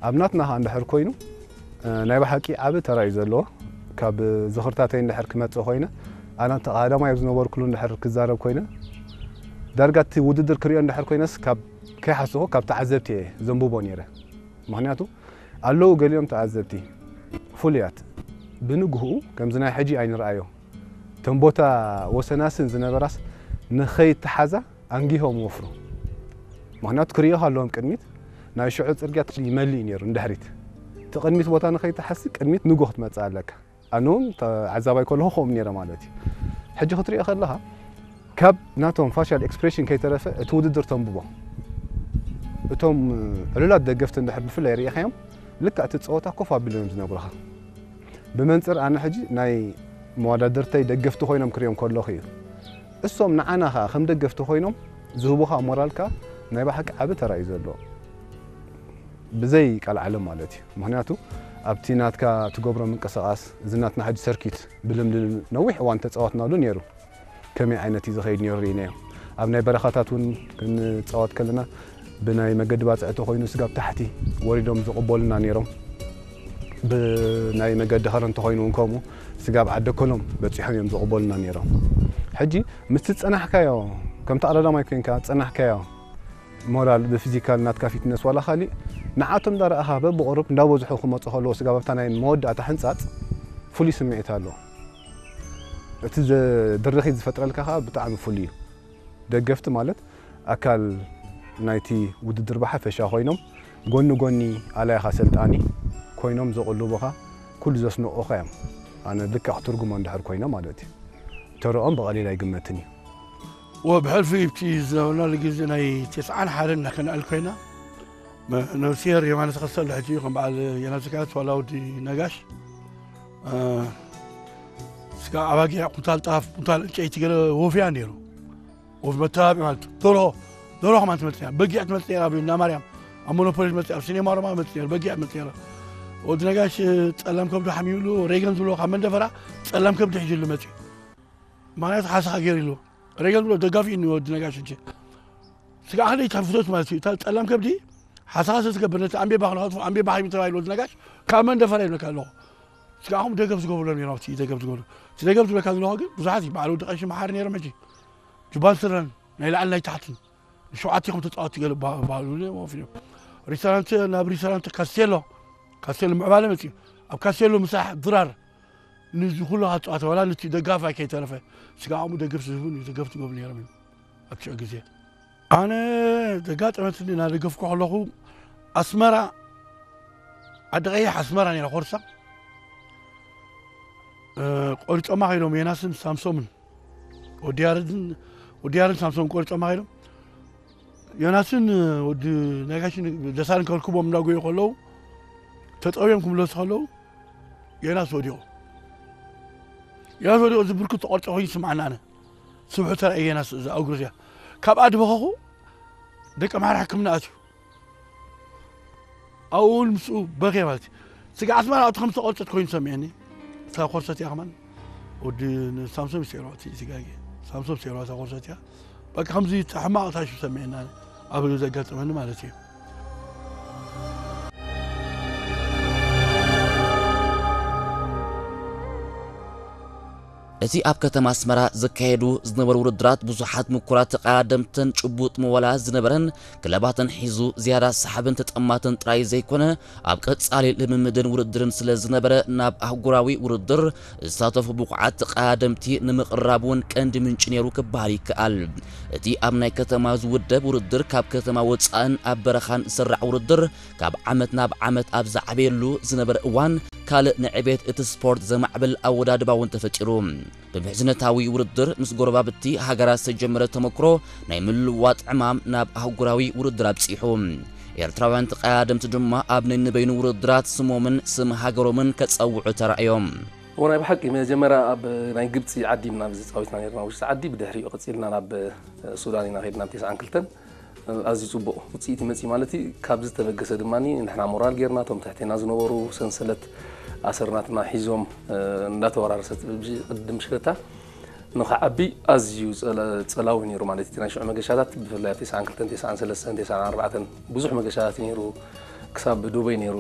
ኣብ ናትና ኸኣ እንድሕር ኮይኑ፣ እ፣ ናይ ብሓቂ ዓቢ ተራ እዩ ዘለዎ። ካብ ዝኽርታተይ እንድሕር ክመጽእ ኮይነ፣ ኣነ ተቐዳዳማይ ኣብ ዝነበርኩሉ እንድሕር ክዛረብ ኮይነ፣ ዳርጋ እቲ ውድድር ክሪኦ እንድሕር ኮይነስ ካብ ከይሓሰኹ ካብ ተዓዘብቲ እየ ዘንብቦ ነይረ። ምኽንያቱ ኣለዉ ገሊኦም ተዓዘብቲ ፍሉያት፣ ብንግህኡ ከምዚ ናይ ሕጂ ኣይንርኣዮ። እተን ቦታ ወሰናስን ዝነበራስ ንኸይተሓዛ ኣንጊሆም ወፍሩ። ምኽንያቱ ክርእዮኻ ኣለዎም ቅድሚት ናይ ሽዑ ጽርግያ ይመልእ እዩ ነይሩ ንድሕሪት። እቲ ቅድሚት ቦታ ንኸይትሓሲ ቅድሚት ንግሆ ክትመጽእ ኣለካ። ኣነ እውን ተዓዛባይ ከለኹ ከምኡ ነይረ ማለት እዩ። ሕጂ ክትሪኦ ከለኻ ካብ ናቶም ፋሻል ኤክስፕሬሽን ከይተረፈ እቲ ውድድር ተንብቦ። እቶም ዕሉላት ደገፍቲ እንድሕር ብፍላይ ርኢኻዮም ልክዕ እቲ ጸወታ ኮፍ ኣቢሎም እዮም ዝነግሩኻ። ብመንጽር ኣነ ሕጂ ናይ መወዳድርተይ ደገፍቲ ኮይኖም ክሪኦም ከለኹ እዩ። እሶም ንዓና ኸኣ ከም ደገፍቲ ኮይኖም ዝህቡኻ ሞራል ከኣ ናይ ብሓቂ ዓቢ ተራ እዩ ዘለዎ። ብዘይ ቃል ዓለም ማለት እዩ። ምኽንያቱ ኣብቲ ናትካ ትገብሮ ምንቅስቓስ፣ እዚ ናትና ሕጂ ሰርኪት ብልምዲ ነዊሕ እዋን ተጻወትናሉ ነይሩ። ከመይ ዓይነት እዩ ዝኸይድ ነይሩ ርኢናዮ። ኣብ ናይ በረኻታት እውን ክንጻወት ከለና ብናይ መገዲ ባጽዕ ተኾይኑ ስጋብ ታሕቲ ወሪዶም ዝቕበሉና ነይሮም። ብናይ መገዲ ኸረን ተኾይኑ እውን ከምኡ ስጋብ ዓደኮሎም በጺሖም እዮም ዝቕበሉና ነይሮም። ሕጂ ምስቲ ዝጸናሕካዮ፣ ከምቲ ኣረዳማይ ኮይንካ ዝጸናሕካዮ ሞራል ብፊዚካል ናትካ ፊትነስ ዋላ ካሊእ ንዓቶም እንዳረኣኻ በብቕሩብ እንዳበዝሑ ክመጹ ከለዉ ስጋብ ኣብታ ናይ መወዳእታ ሕንጻጽ ፍሉይ ስምዒት ኣለዎ። እቲ ዘ-፣ ድርኺት ዝፈጥረልካ ኸኣ ብጣዕሚ ፍሉይ እዩ። ደገፍቲ ማለት ኣካል ናይቲ ውድድር ብሓፈሻ ኮይኖም፣ ጎኒ ጎኒ ኣላይኻ ሰልጣኒ ኮይኖም ዘቕልቡኻ፣ ኩሉ ዘስንቑኻ እዮም። ኣነ ልክዕ ክትርጉሞ እንድሕር ኮይነ ማለት እዩ። ተረኦም ብቐሊል ኣይግመትን እዩ። ወብሕልፊ ብቲ ዝነበርናሉ ግዜ ናይ ተስዓን ሓደን እናኸነኣል ኮይና፣ መ-፣ ነብስሄር የማነ ተኸስተ ኣሎ ሕጂ፣ ከም በዓል የናስ ዘካርያስ ዋላ ወዲ ነጋሽ፣ እ፣ ስጋ ኣባጊዕ፣ ኩንታል ጣፍ፣ ኩንታል ዕንጨይቲ ገለ ወፍያ ነይሩ። ወፍ መተባብዒ ማለት ደርሆ፣ ደርሆ ከማን ትመጽእ ነይራ፣ በጊዕ ትመጽእ ነይራ፣ ኣብ እንዳ ማርያም፣ ኣብ ሞኖፖሊ ትመጽእ፣ ኣብ ሲኔማ ሮማ ትመጽእ ነይራ፣ በጊዕ ትመጽእ ነይራ። ወዲ ነጋሽ ጸላም ከብዱ ሓሚምሉ፣ ሬገን ዝብሎ ካብ መንደፈራ ጸላም ከብዲ ሒዙሉ መጽዩ። ምኽንያቱ ሓሰኻ ገይሩ ኢሉ። ሬገን ዝብሎ ደጋፊ እዩ ወዲ ነጋሽ እንጂ። ስጋዕ ክንደይ ትሕፍቶት ማለት እዩ። እታ ጸላም ከብዲ ሓሰኻ ስለ ትገብር ነቲ ኣምቤባ ክንኸትፎ፣ ኣምቤባ ሓሚሙ ተባሂሉ ወዲ ነጋሽ ካብ መንደፈራ ይብለካ ኣለኹ። ስጋዕኹም ደገፍ ዝገብሩሎም ነይሮም፣ እቲ ደገፍ ዝገብሩ። እቲ ደገፍ ዝብለካ ዘለኹ ግን ብዙሓት እዩ። በዓል ወዲ ቀሺ መሓሪ ነይሮም ሕጂ። ጁባን ስረን ናይ ላዕሊ ናይ ታሕትን ንሸውዓተ ኢኹም ተጻወትቲ ገለ በሃ-፣ በሃሉ ወፊ እዮም። ሪስቶራንት፣ ናብ ሪስቶራንት ካስቴሎ፣ ካስቴሎ ምዕባለ መጽዩ። ኣብ ካስቴሎ ምሳሕ ድራር ንዚ ኩሉ ካብ ጸዋታ ዋላ ነቲ ደጋፋይ ከይተረፈ ስጋዖም ደገፍ ዝህቡን ደገፍ ዝገብሩ ነይሮም እዮም ኣብቲ ሽዑ ግዜ። ኣነ ዘጋጠመትኒ እናደገፍኩ ከለኹ ኣስመራ ዓዲ ቀይሕ ኣስመራ ነይራ ኮርሳ፣ እ፣ ቆሪጾማ ከይዶም ዮናስን ሳምሶምን ወዲ ያረድን፣ ወዲ ያረድን ሳምሶምን ቆሪጾማ ከይዶም ዮናስን ወዲ ነጋሽን ደሳልን ከርክቦም እናጎዩ ከለዉ ተጠውዮም ክምለሱ ከለዉ ዮናስ ወዲቑ። ዮናስ ወዲቑ እዚ ብርኩት ተቆርጾ ኮይኑ ይስምዓና ኣነ። ስብሑ ተራእየ ዮናስ እዛ እግሩ እዚኣ። ካብኣ ድበኸኹ ደቂ ኣምሓራ ሕክምና ኣትዩ። ኣብኡ እውን ምስኡ በኽየ ማለት እዩ። ስጋ ኣስመራ ኣብቲ ከም ዝተቖርጸት ኮይኑ ሰሚዐኒ። እታ ኮርሰት እያ ከማን ወዲ ን-፣ ሳምሶም ይስዕሮ እቲ ስጋጌ። ሳምሶም ይስዕሮ እታ ኮርሰት እያ። በቃ ከምዚ ሕማቕ ታሽው ሰሚዐና ኣብ ዘጋጠመኒ ማለት እዩ። እቲ ኣብ ከተማ ኣስመራ ዝካየዱ ዝነበሩ ውድድራት ብዙሓት ምኩራት ተቐዳደምትን ጭቡጥ መዋላ ዝነበረን ክለባትን ሒዙ ዝያዳ ሰሓብን ተጠማትን ጥራይ ዘይኮነ፣ ኣብ ቀጻሊ ልምምድን ውድድርን ስለ ዝነበረ፣ ናብ ኣህጉራዊ ውድድር ዝሳተፉ ብቑዓት ተቐዳደምቲ ንምቕራብ እውን ቀንዲ ምንጪ ነይሩ ክበሃል ይከኣል። እቲ ኣብ ናይ ከተማ ዝውደብ ውድድር ካብ ከተማ ወጻእን ኣብ በረኻን ዝስራዕ ውድድር ካብ ዓመት ናብ ዓመት ኣብ ዝዓበየሉ ዝነበረ እዋን፣ ካልእ ንዕቤት እቲ ስፖርት ዘማዕብል ኣወዳድባ እውን ተፈጢሩ። ብምሕዝነታዊ ውድድር ምስ ጎረባብቲ ሃገራት ዝተጀመረ ተመክሮ ናይ ምልውዋጥ ዕማም ናብ ኣህጉራዊ ውድድር ኣብጺሑ። ኤርትራውያን ተቐዳደምቲ ድማ ኣብ ነንበይኑ ውድድራት ስሞምን ስም ሃገሮምን ከጸውዑ ተራእዮም። እዎ፣ ናይ ብሓቂ መጀመርያ ኣብ ናይ ግብጺ ዓዲ ኢና ዝጻወትና ነርና፣ ውሽጢ ዓዲ። ብድሕሪኡ ቀጺልና ናብ ሱዳን ኢና ከድና፣ ኣብ ተስዓን ክልተን። ኣዝዩ ጽቡቕ ውጽኢት ይመጽእ ማለት እዩ። ካብ ዝተበገሰ ድማ ንሕና ሞራል ጌርና፣ እቶም ትሕቴና ዝነበሩ ሰንሰለት ኣሰርናትና ሒዞም፣ እ፣ እንዳተወራረሰ ቅዲ ምሽክለታ ንኽዓቢ ኣዝዩ ጸለ-፣ ጸላዊ ነይሩ ማለት እዩ። ናይ ሽዑ መገሻታት ብፍላይ ኣብ ተስዓን ክልተን፣ ተስዓን ሰለስተን፣ ተስዓን ኣርባዕተን ብዙሕ መገሻታት ነይሩ። ክሳብ ዱበይ ነይሩ